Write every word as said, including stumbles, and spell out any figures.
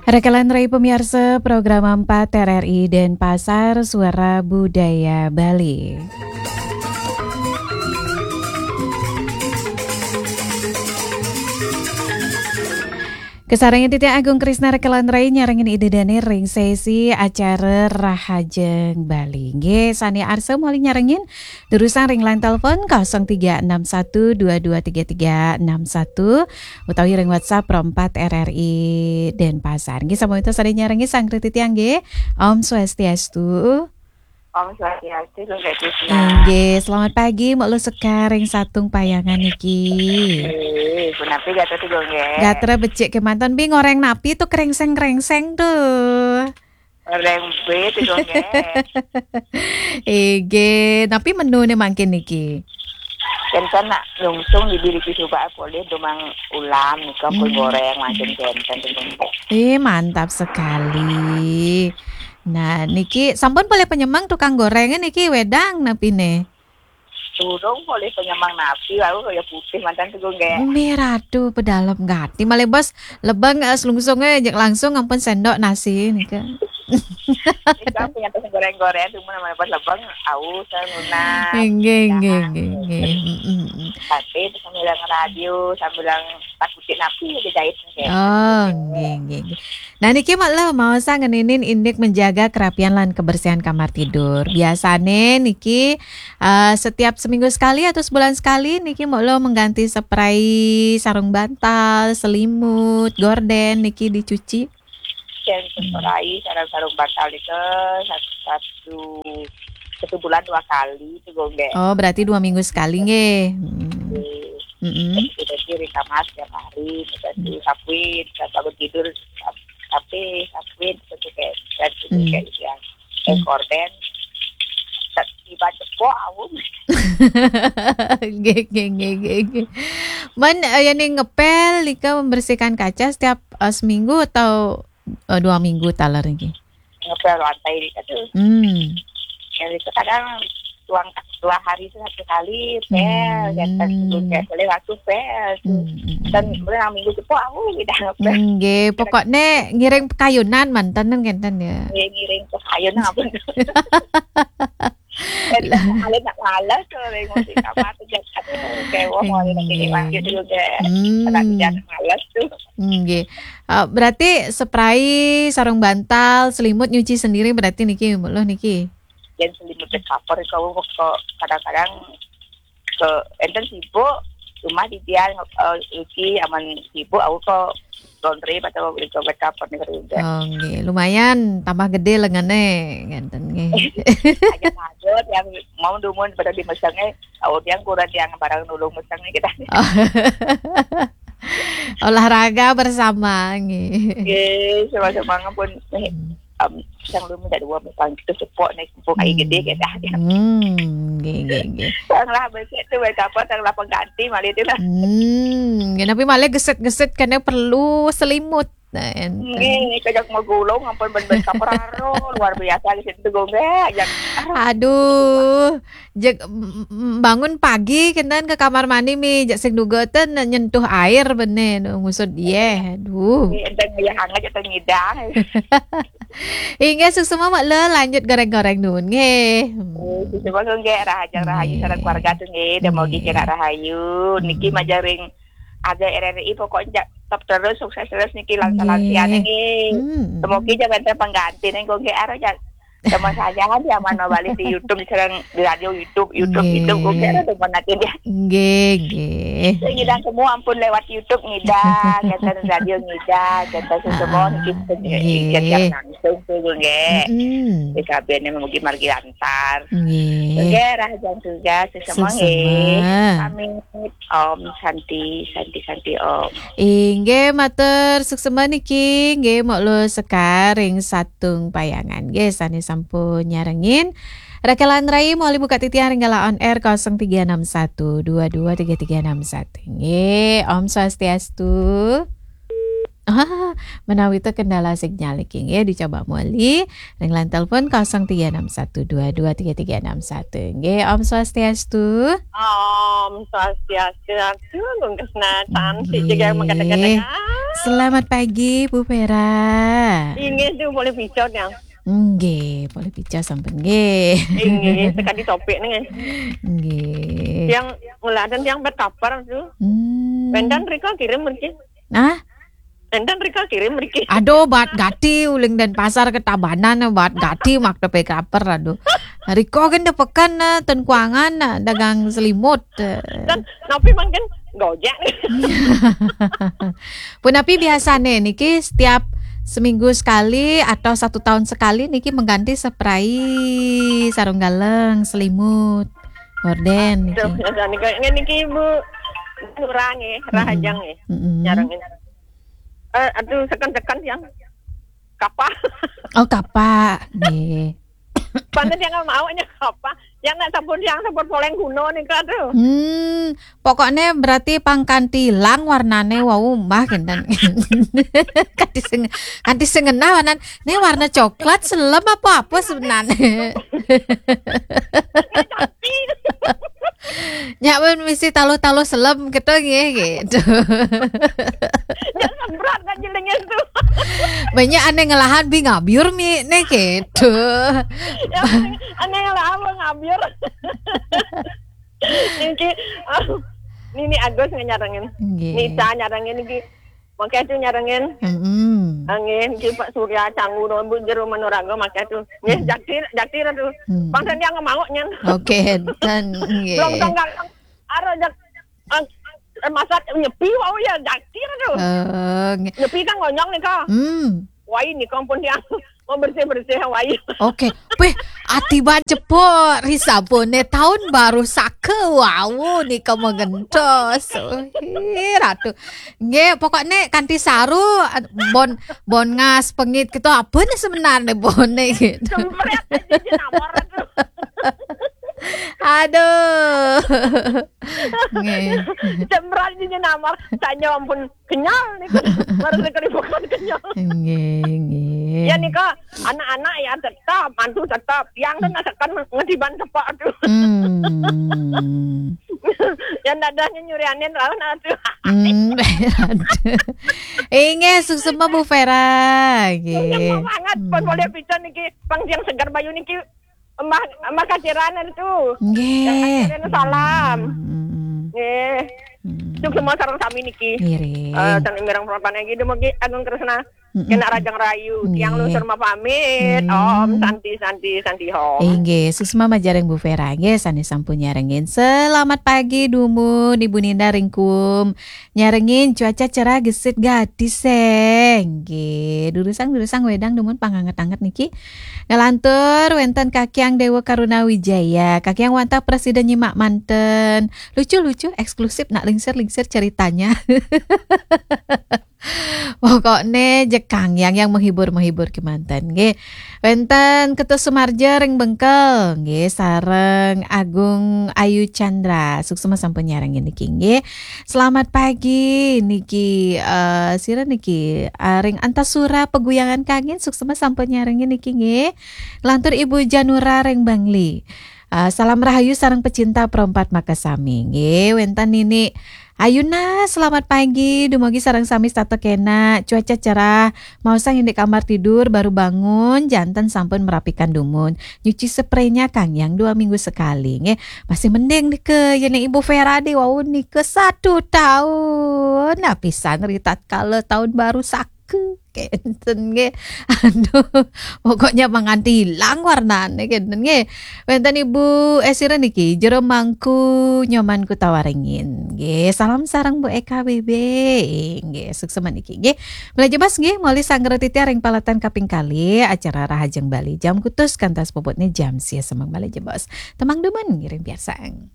Rekelan rai pemiarsa program empat R R I Denpasar, Suara Budaya Bali. Kasarengin titiang Agung Krisna rekelan rai nyarengin ida dane ring sesi acara Rahajeng Bali. Nggih, sane arsa malih nyarengin, durusang ring line telepon kosong tiga enam satu dua dua tiga tiga enam satu utawi ring WhatsApp Pro empat R R I Denpasar. Nggih, sampun wenten sane nyarengin, sareng titiang nggih. Om Swastiastu. Om Swastiastu, Gung Krisna. Nggih, selamat pagi, Mbok Luh Sekar ring Satung Payangan niki. Eh, punapi gatra tu, Gung, nggih? Gatra becik kemanten, bi ngoreng napi tu krengseng-krengseng tu? Ngoreng be tu, Gung, nggih. Nggih, napi menune mangkin niki? Enten nak lungsung di bilik suba polih dumang ulam nika, pun Hmm. goreng mangkin enten tu, Gung, nggih. Eh, mantap sekali. Nah, niki sampun polih penyemang tukang gorenge niki, wedang napine? Durung polih penyemang napi, wau kaya putih manten tu, Gung, nggih. Mih ratu pedalem gati. Malih bos lebeng, eh, selungsunge jeg langsung ampun sendok nasi nika. Nika punya tas goreng-goreng, cuma namanya bos lebeng, aus, saya nunas. Nggih, nggih, nggih, nggih. Mm, mm, mm. Tapi sambil radio, sambil takutin api aja jahit, nggih. Oh, nggih, nggih, nggih. Nah, niki Mbok Luh maosang ngeninin indik menjaga kerapian lan kebersihan kamar tidur. Biasane niki, eh, setiap seminggu sekali atau sebulan sekali niki Mbok Luh mengganti spray sarung bantal, selimut, gorden niki dicuci? Yen spray sarung, sarung bantal nika satu, satu, satu bulan dua kali tu, Gung, nggih. Oh, berarti dua minggu sekali nggih. Hmm. Nggih. Mm-mm. Jadi, jadi ring kamar setiap hari, terus Hmm. disapuin, saat bangun tidur, sap-, sapuin, sapuin, terus kayak, dan Hmm. kayak gitu ya. Eh, Hmm. gorden, tak tiba cepok, au. Nggih, nggih, nggih, nggih, nggih. Men, eh, yang ngepel nika membersihkan kaca setiap, eh, seminggu atau, eh, dua minggu taler niki? Ngepel lantai nika tu. Hmm. Yang itu kadang dua, dua hari tu satu kali pel, Hmm. ya, tak sebelum pel, boleh waktu pel tu. Hmm, hmm, Dan hmm. Boleh minggu tu pun, au, dah ngepel. Nggih, pokokne ngiring pekayunan manten ngenten ya. Nggih, ngiring pekayunan apa tu? Enten males nak males tu, ring musik kamar tu, jan, aduh, kewah, mau ada lagi Nggih. Lagi tu juga. Hmm. Anak jan males tu. Nggih. Ah, berarti spray, sarung bantal, selimut nyuci sendiri berarti niki, Mbok Luh niki? Yen selimut bed cover kau kok kadang-kadang ke enten sibuk, cuma di dia, eh, iki aman sibuk, aku kok laundry atau beli ke bed cover ni kerja. Oh, nggih. Lumayan tambah gede lengene, ngenten nggih. Aja ada yang mau dumun pada di mesenge, au yang kurang yang barang nulung mesenge kita. Oh. Olahraga bersama nggih. Nggih, sama-sama pun, eh, Hmm. em, sang lu minta dua, misalnya kita support nih, mumpung air Hmm. gede kita. Hmm, nggih, nggih, nggih. Sang lah besok tu, baik apa, sang lah pengganti, malah itu lah. Hmm, nggih, tapi malah geset-geset kena perlu selimut. Nah, enten. Nggih, kejak mau gulung, ampun ben-ben kapraro, luar biasa di situ, Gung, nggih, yang, aduh. Aduh, jeg, m-, m-, bangun pagi kenten ke kamar mandi mi, jeg sing duga ten nyentuh air bene, nu ngusut dia. Aduh. Nggih, enten ya hangat atau ngidang. Inggih, suksma Mbok Luh, lanjut goreng-goreng nun nggih. Hmm. Eh, suksma nggih, rahajeng rahayu Nggih. Sareng keluarga tu nggih, dan mau Nggih. Dikira rahayu. Niki Hmm. Majaring ada R R I pokoknya top terus, sukses terus niki, lansia-lansiane Nggih. Nggih. Hmm. Semoga jangan terpengganti nih, kok nggih, aro ja-, sama saja kan ya, mana balik di YouTube, sekarang di radio YouTube, YouTube, Nggih. YouTube, kok nggih, ada teman nanti dia. Nggih, nggih. Saya ngidang semua ampun lewat YouTube ngidang, kata radio ngidang, kata semua Ah, niki nggih. Ngidang langsung tu nggih. Mm-mm. Di kabinnya mungkin margi lantar. Nggih. Nggih, rahajeng tugas, suksma Suksma. Nggih. Pamit. Om Santi, Santi, Santi, Om. Inggih, matur suksma niki, nggih, Mbok Luh Sekar ring Satung Payangan. Nggih, sane sampun nyarengin. Rekelan rai malih buka titiang ring galah on air kosong tiga enam satu dua dua tiga tiga enam satu. Nggih, Om Swastiastu. Ah, menawi to kendala sinyal iki nggih, dicoba malih ring line telepon kosong tiga enam satu dua dua tiga tiga enam satu. Nggih, Om Swastiastu. Om Swastiastu, Gung Krisna, cantik juga Nggih. Mengkata-kata. Selamat pagi, Bu Vera. Inggih, Tu, polih pica, Tiang. Nggih, polih pica sampun nggih. Inggih, sekadi topik nih. Nggih. Tiang ngeladen tiang bet kaper, Tu. Hmm. Wénten rika kirim mriki. Nah? Wénten rika kirim mriki. Aduh, bat gati uling Denpasar ka Tabanan, bat gati makta pe kaper, aduh. Rika kan da peken, eh, ten kuangan, eh, dagang selimut, eh. Kan napi mangkin Gojek nih. Punapi biasane niki setiap seminggu sekali atau satu tahun sekali niki mengganti spray sarung galeng, selimut, gorden niki. Tuh, biasane kayak ngene iki, Bu. Ngurang ya, rahajeng ya. Mm-mm. Nyarengin. Eh, aduh, seken-seken yang kapa. Oh, kapa. Nggih. Pancen yang mau nya kapa. Yang nak sabun, yang sabun poleng guna nih, Kak, tuh. Hmm, pokoknya berarti pang kanti ilang warnane wau mbah kenten. Kanti sing, kanti sing ngenah warnan. Ini warna coklat selem apa apa sebenarnya? Tapi nyak pun mesti taluh-taluh selem gitu nggih gitu. Ya semprot kan jenenge itu. Banyak aneh ngelahan bi ngabyur mi nih gitu. Ya, aneh ngelahan ngabyur. Niki, ah, Nini Agus nyarengin. Nggih. Nisa nyarengin niki. Mangke tu nyarengin. Mm-mm. Nggih, niki Pak Surya Canggu nombu jero Manuraga mangke tu. Nggih, jakti, jakti tu. Hmm. Bangsa dia ngemau nyen. Oke, dan nggih. Belum tonggal. Aro jak, ah, eh, masak nyepi wau ya jakti tu. Eh, nggih. Nyepi kan ngonyong nih, Kak. Hmm. Wai nih kampun dia. Mau bersih-bersih wai. Oke, weh, ati ban cepok ri sabune tahun baru saka wau nika mengentos. Wih, ratu. Nggih, pokoknya kanti saru bon bon ngas pengit gitu apa nih sebenarnya bone gitu. Sempret aja jenamar tu. Aduh. Nggih. Sempret aja jenamar. Tanya ampun kenyal nih. Baru sekali bukan kenyal. Nggih, nggih. Ya nih, Kak. Anak-anak ya tetap, mantu tetap. Yang tu nak tekan ngediban sepak tu. Hmm. Yang dadahnya nyurianin lawan tu. Hmm. Inggih, suksema Bu Vera. Nggih. Suksema banget. Pun boleh pican niki, pang yang segar bayu niki. Mbah, Mbah Kaciran tu. Nggih. Yang Kaciran salam. Hmm. Nggih. Hmm. Suksema sareng sami niki. Ngiring. Eh, sareng mireng propan lagi dumugi Agung Kresna. Mm-mm. Kena Rajang Rayu, tiang lungsur mapamit. Om Santi, Santi, Santi Om. Inggih, suksma majareng Bu Vera, nggih, sane sampun nyarengin. Selamat pagi, dumun, Ibu Ninda ringkum. Nyarengin cuaca cerah gesit gadis, eh. Nggih, durusang-durusang wedang dumun panganget-anget niki. Ngelantur wenten Kakiang Dewa Karuna Wijaya, Kakiang wantah presiden nyimak manten. Lucu-lucu, eksklusif, nak lingsir-lingsir ceritanya. Pokokne jekang yang, yang menghibur-menghibur kemanten nggih. Wenten Ketut Sumarja ring Bengkel nggih, sareng Agung Ayu Chandra. Suksma sampun nyarengin niki nggih. Selamat pagi niki, eh, sira niki, eh, ring Antasura Peguyangan Kangin, suksma sampun nyarengin niki nggih. Lantur Ibu Janura ring Bangli. Ah, salam rahayu sareng pecinta perempat makasami. Nggih, wenten Nini Ayuna, selamat pagi. Dumugi sareng sami setata kena. Cuaca cerah. Maosang indik kamar tidur, baru bangun, janten sampun merapikan dumun. Nyuci spraynya Kang yang dua minggu sekali. Nggih, masih mending nika, ya nih Ibu Vera di wau nika satu tahun. Nah, pisan ri tatkala tahun baru sak ke kenten nggih. Aduh, pokoknya manganti hilang warnane kenten nggih. Wenten Ibu, eh, sira niki, Jero Mangku Nyoman Kutawaringin. Nggih, salam sareng Bu Eka B B. Nggih, suksma niki nggih. Malih jebos nggih, moli sanggra titiang ring palatan kaping kali acara Rahajeng Bali jam kutus kantos puputne jam sia semeng malih jebos. Temang dumun ngiring piarsang.